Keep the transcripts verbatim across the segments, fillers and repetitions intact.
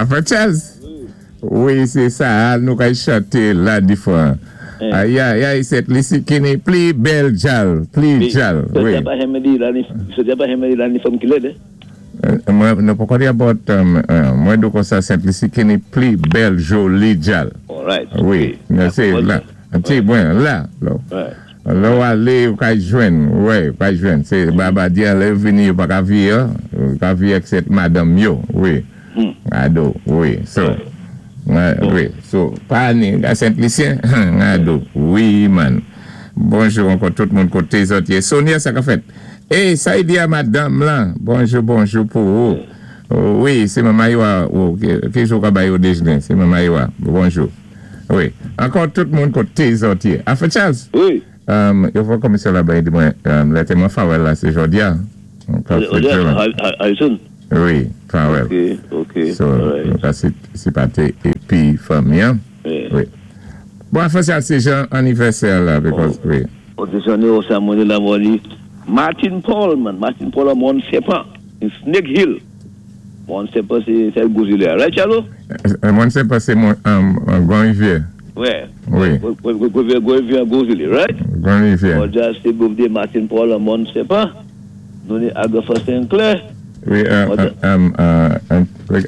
Afa Charles. Wi, sé sa, nou kay chanté la di fwa. Ay, ay, ay, Sent Lisi ki ni pli bèl djal, pli djal, wi. Sa pa janmen di la ni, sa pa janmen di la ni fanm ki lèd, eh? Mwen, nou poko di about, mwen di konsa Sent Lisi ki ni pli bèl joli djal. All right. Wi, sé la. Ti bwen, la. Lè ou alé, ou kay jwenn, wi, ou kay jwenn. Sé Barbadien, lè yo vini, yo pa ka vié, yo ka vié ak sèt madanm yo, wi. Ado, wi, so. Wi, so, pa ni, Sent Lisyen, ado, wi, man. Bonjou ankò tout moun koté zòt yé. Sonia, sa ka fèt. Eh, sa y di a madanm lan. Bonjou, bonjou pou ou. Wi, sé manman yo, ki jou ka bay yo déjné? Sé manman yo. Bonjou. Wi, ankò tout moun koté zòt yé. Afa Charles? Wi. Yo fò komisyon la bay di mwen, lè mwen farewell la sé jòdi a. Harrison? Wi, farewell. Ok, ok. So, nou ka sipaté épi fanmi an. Wi. Bon, Afa Charles, sé jan anivèsè la, because, wi. Ok, se anivèsè mwen la mwen di Martin Paul, man. Martin Paul a Mont Serpent, in Snake Hill. Mont Serpent, sé Gros Islet, right, Charlo? Mont Serpent, sé Grand Rivière. Ouais. Wi. Grand Rivière, Gros Islet, right? Grand Rivière. Bon, sé birthday Martin Paul a Mont Serpent. Nou ni Agatha Sinclair. Wi,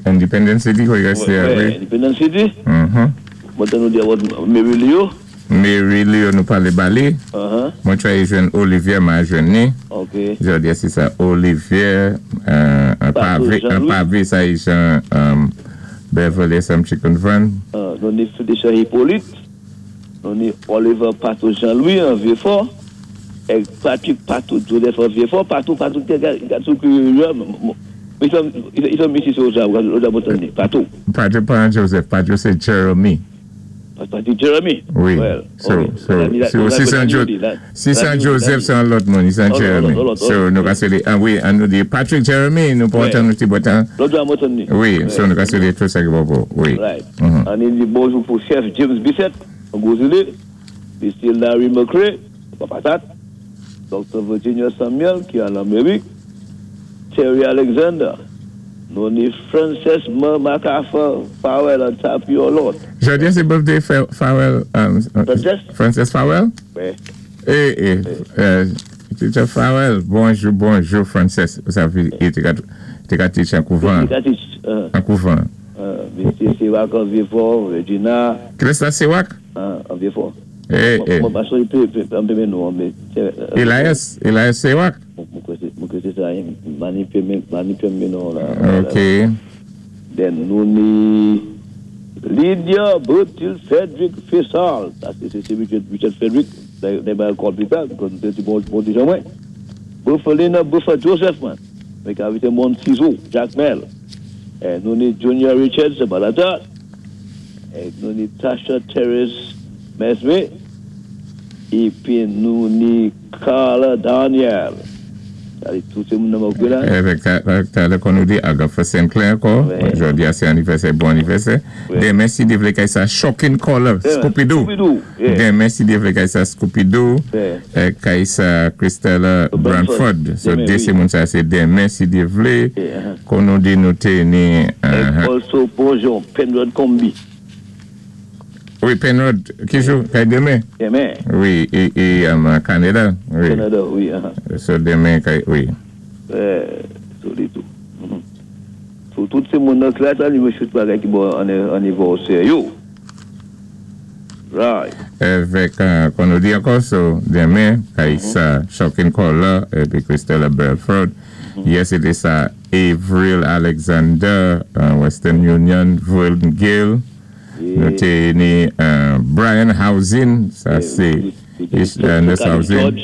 Independence City, wi, wi. Independence City. Mhm. Mwen nou di about Mary Leo. Mary Leo nou palé ba li. Mwen try jwenn Olivier ma jwenn ni. Ok. Jòdi a sé sa Olivier, an pavé, an pavé sa yi jan Beverly S M Chicken Van. Nou ni Felicia Hippolyte. Nou ni Oliver Pato Jean-Louis an Vieux-Fort. Ek Patrick Pato Joseph an Vieux-Fort. Pato, Pato, gatou ki i fè misi sou sa, ou sa botan Pato. Pato pa Joseph, Pato sé Jeremy. Patrick Jeremy? Wi. So, so, si San si San Joseph, sé an lòt moun, San Jeremy. So, nou ka séli, ah wi, an nou di Patrick Jeremy, nou pa antann nou ti botan. Lòt an botan ni. Wi, so nou ka séli tout sa ki bon pou, wi. Right. An ni di bonjou pou chèf James Bissett, an Gros Islet, Mister Larry McCray, Papatat, Doctor Virginia Samuel, ki an Amerik, Terry Alexander, nou ni Frances MacArthur Farrell an Tapio Lot. Jòdi a sé birthday Farrell, Frances? Frances Farrell? Wi. Eh, eh, Teacher Farrell, bonjou, bonjou, Frances. Ou sa vi, te ka teach an kouvan. Te ka teach. An kouvan. Mister Sewak an Vieux-Fort, Regina. Kilès la Sewak? An Vieux-Fort. Eh, eh. Mwen pa sou pe, an pe men nou, an Elias, Elias Sewak? Mwen kwè sé sa, mani pe men nou la. Ok. Then nou ni Lydia Bertil Frederick Faisal. Sa sé sé Richard Frederick, de ba kol pita, kon te ti bon di jan mwen. Bufalina Buffa Joseph, man. Mwen ka vite moun Ciseaux, Jacmel. Nou ni Junior Richards, Balata. Nou ni Tasha Therese Mesme. Épi nou ni Carla Daniel. Sa di tout sé moun nan mwen la. Avèk talè kon nou di Agatha Sinclair ankò. Jòdi a sé anivèsè, bon anivèsè. Denmen si Dye vlé kay sa Shocking Caller, Scooby-Doo. Denmen si Dye vlé kay sa Scooby-Doo, kay sa Christella Branford. So dé sé moun sa sé denmen si Dye vlé. Kon nou di nou té ni Also bonjou, Penrod Combi. Wi, Penrod, ki jou? Kay denmen? Denmen. Wi, e, e Canada. Wi. Canada, wi. So denmen kay, wi. Eh, so li tou. So tout sé moun nan klas la, li mwen chut bagay ki bon anivèsè yo. Right. Avèk, kon nou di ankò, so denmen, kay sa Shocking Caller, épi Christella Belford. Yes, it is sa Avril Alexander, Western Union, Verlin Gill. Nou té ni Brian Housing, sa sé Nurse Housing.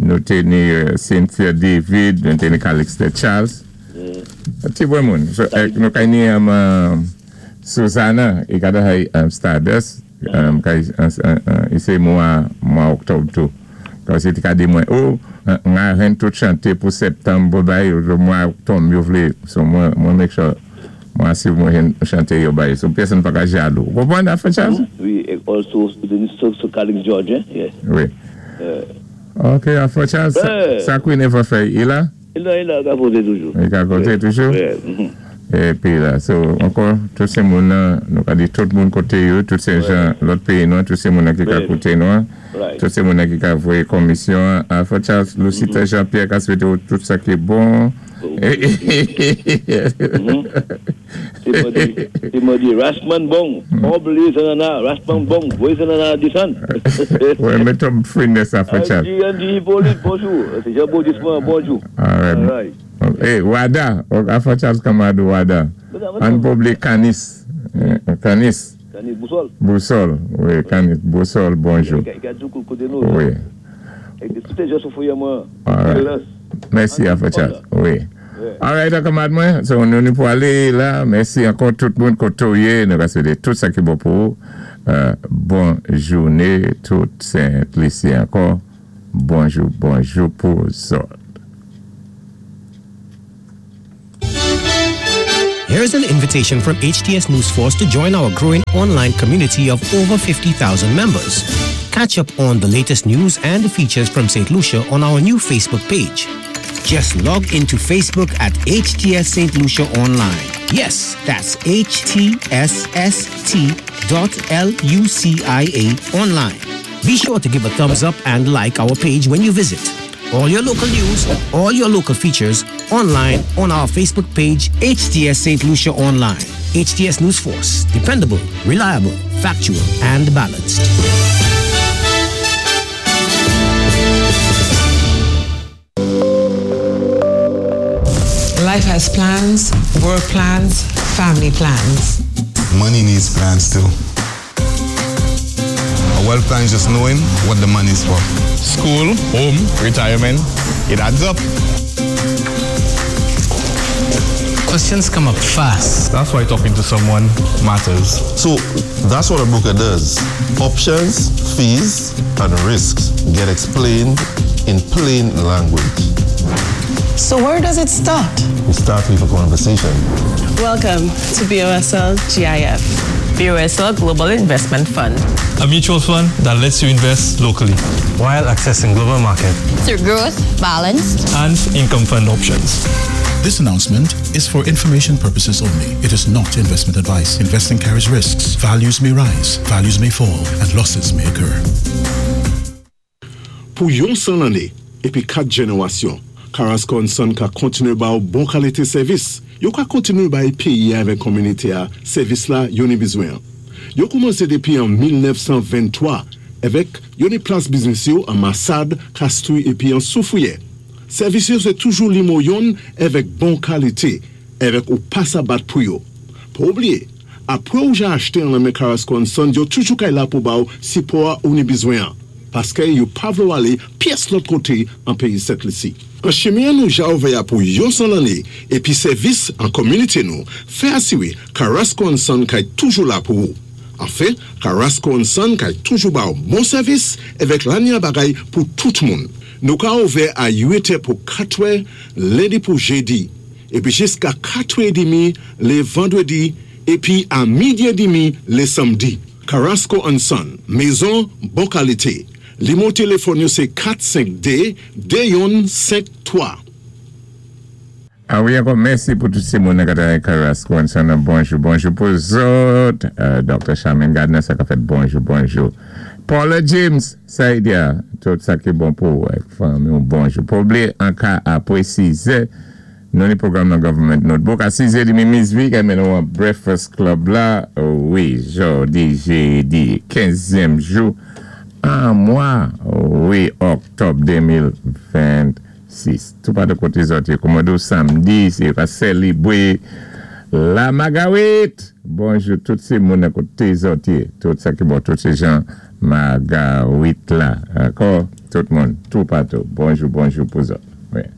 Nou té ni Cynthia David, nou té ni Calixte Charles. Ti bwen moun. Nou kay ni Susanna, i kada hay Stardust, i sé mwa oktòb tou. Kasi ti ka di mwen, oh, nga ren tout chanté pou septanm, bay, mwa oktòb, yo vlé, so mwen make sure mwen asiv mwen chanté yo bay. So pèsonn pa ka jalou. Konpwann afè Charles? Wi, also, so Calix George, yes. Wi. Ok, afè Charles, sa Queen Eva fè, i la? I la, i la, ka koté toujou. I ka koté toujou? Wi. Épi la, so, ankò, tout sé moun nou ka di tout moun koté yo, tout sé jan lòt péyi nou, tout sé moun ki ka kouté nou, tout sé moun ki ka voyé komisyon. Afò Charles, Lucita Jean-Pierre ka swété tout sa ki bon. Se mwen di, Rasman bon, obli zanana, Rasman bon, voye zanana disan. Wè, mèt fwine sa, Afò Charles. Andy, Andy Hippolyte, bonjou. C'est Jean-Paul bonjou. All right. Eh, Wada, Afò Charles Kamadou Wada. An public Canis. Canis. Canis Boussol. Boussol, wi, Canis Boussol, bonjou. Wi. All right. Mèsi, Afò Charles. Wi. All right, kanmad mwen. So, nou ni pou alé la. Mèsi ankò tout moun koté ou yé. Nou ka swété tout sa ki bon pou ou. Bon jouné, tout Saint-Lucien ankò. Bonjou, bonjou pou zòt. Here's an invitation from H T S News Force to join our growing online community of over fifty thousand members. Catch up on the latest news and features from Saint Lucia on our new Facebook page. Just log into Facebook at H T S Saint Lucia Online. Yes, that's H T S S T dot L U C I A online. Be sure to give a thumbs up and like our page when you visit. All your local news, all your local features, online on our Facebook page, H T S Saint Lucia Online. H T S News Force, dependable, reliable, factual, and balanced. Life has plans, work plans, family plans. Money needs plans too. A wealth plan is just knowing what the money is for. School, home, retirement, it adds up. Questions come up fast. That's why talking to someone matters. So that's what a broker does. Options, fees, and risks get explained in plain language. So where does it start? It starts with a conversation. Welcome to B O S L G I F. B O S L Global Investment Fund. A mutual fund that lets you invest locally while accessing global market through growth, balanced, and income fund options. This announcement is for information purposes only. It is not investment advice. Investing carries risks. Values may rise, values may fall, and losses may occur. Pou yon san lanné, épi kat jénéwasyon, Carrasco and Son ka kontiné ba ou bon kalité sèvis. Yo ka kontiné bay péyi avèk kominité a sèvis la yo ni bizwen. Yo koumansé dépi an mil nèf san venntwa avèk yo ni plas biznis yo an Massade, Castries épi an Soufrière. Sèvis yo sé toujou nimewo youn avèk bon kalité, avèk ou pa sa bat pou yo. Pa oubliyé, apwé ou ja achté an nan men Carrasco and Son, yo toujou kay la pou ba ou sipò ou ni bizwen. Paské yo pa vlé ou alé pyès lòt koté an péyi Sent Lisi. An chimen nou ja ouvè pou yon san lanné épi sèvis an kominité nou, fè asiwé Carrasco and Son kay toujou la pou ou. Anfen, Carrasco and Son kay toujou ba ou bon sèvis avèk lanya bagay pou tout moun. Nou ka ouvè a uit è pou katwè, lendi pou jédi, épi jiska katwè édmi lé vandwédi, épi a midi édmi lé sanmdi. Carrasco and Son, mézon bon kalité. Nimewo téléfòn yo sé kat senk dé de youn senk twa. A wi, ankò mèsi pou tout sé moun ki Carrasco and Son. Bonjou, bonjou pou zòt. Euh, Docteur Charmaine Gardner, sa ka fèt bonjou, bonjou. Paula James, sa y di, tout sa ki bon pou fanmi, bonjou. Pa oubliyé, an ka apwé siz è, nou ni pwogram nan Government Notebook. A siz è édmi, Miss V, ki mennen nou Breakfast Club la, wi, jodi, jédi, kenzyèm jou, an mwa, wi, oktòb de mil vennsis. Tout pa de koté zòt, kòman samdi, sé pa sélébwé la Magawit. Bonjou, tout sé moun koté zòt, tout sa ki bon, tout sé jan Magawit la. Ankò, tout moun, tout patou. Bonjou, bonjou pou zòt. Wi.